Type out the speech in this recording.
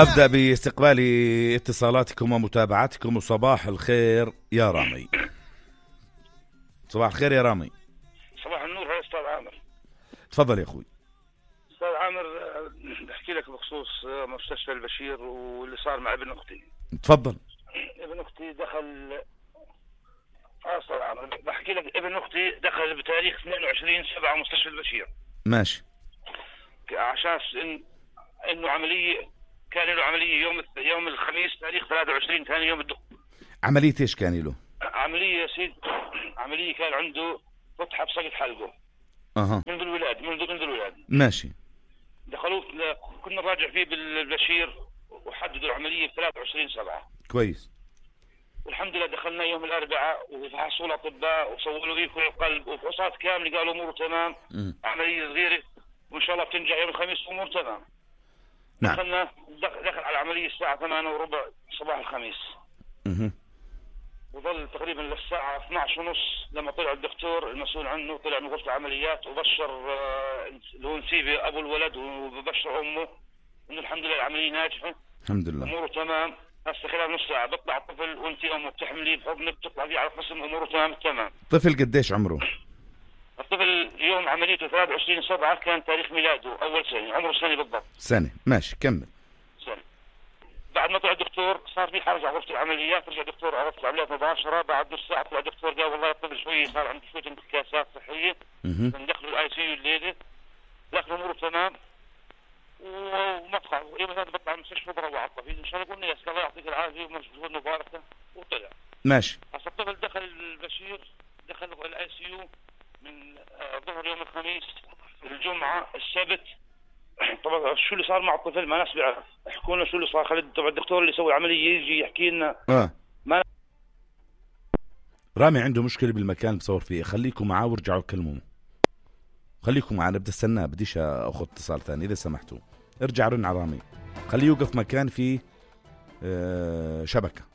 أبدأ باستقبال اتصالاتكم ومتابعتكم. وصباح الخير يا رامي. صباح الخير يا رامي. صباح النور يا أستاذ عامر. تفضل يا أخوي. أستاذ عامر، بحكي لك بخصوص مستشفى البشير واللي صار مع ابن أختي. تفضل. ابن أختي دخل أستاذ عامر، بحكي لك ابن أختي دخل بتاريخ 22/7 مستشفى البشير. ماشي. عشان إنه عملية، كان له عملية يوم الخميس تاريخ 23 ثاني يوم الدخول. عملية إيش كان له؟ عملية سيد، عملية كان عنده فتحة بسقط حلقه. منذ الولادة. ماشي. دخلوه، كنا راجع فيه بالبشير وحددوا العملية ب 23/7. كويس. والحمد لله دخلنا يوم الأربعاء وفحصوا الأطباء وسووا له إيكو القلب وفحوصات كاملة، قالوا أموره تمام. عملية صغيرة وإن شاء الله بتنجح يوم الخميس وأمور تمام. نعم. دخل على العملية الساعة 8:15 صباح الخميس. وظل تقريبا للساعة 12:30 لما طلع الدكتور المسؤول عنه، طلع من غرفة العمليات وبشر اللي هو نسيبه أبو الولد وبشر أمه إنه الحمد لله العملية ناجحة. الحمد لله. أموره تمام. هسه خلال نص ساعة بطلع الطفل وأنت أمه بتحمليه بحضنك، بتطلع فيه على القسم، أموره تمام. طفل قديش عمره؟ الطفل يوم عمليته 23/7 كان تاريخ ميلاده أول سنة، عمره سنة بالضبط. سنة. ماشي كمل. سنة. بعد ما طلع الدكتور صار في حرج على غرفة العمليات، رجع الدكتور على غرفة العمليات مباشرة. بعد نص ساعة طلع الدكتور قال والله الطفل شوي صار عنده شوية انتكاسات صحية، ندخله الآي سي يو الليلة، لكن أموره تمام. ومطلع يوم هذا بطلع المستشفى بروح على الطفل إن شاء الله. قلنا يا سيدي الله يعطيك العافية ومجهود مباركة، وطلع. ماشي. هسه الطفل دخل البشير، دخل الآي سي يو من ظهر يوم الخميس، الجمعة، السبت. طبعا شو اللي صار مع الطفل ما ناس بيعرف، احكوا لنا شو اللي صار. خلي طبعا الدكتور اللي يسوي العملية يجي يحكي لنا. ما رامي عنده مشكلة بالمكان بصور فيه، خليكم معاه وارجعوا كلموه. خليكم معاه، بدي استناه، بديش اخذ اتصال ثاني اذا سمحتوا. ارجع رن على رامي، خليه يوقف مكان فيه شبكة.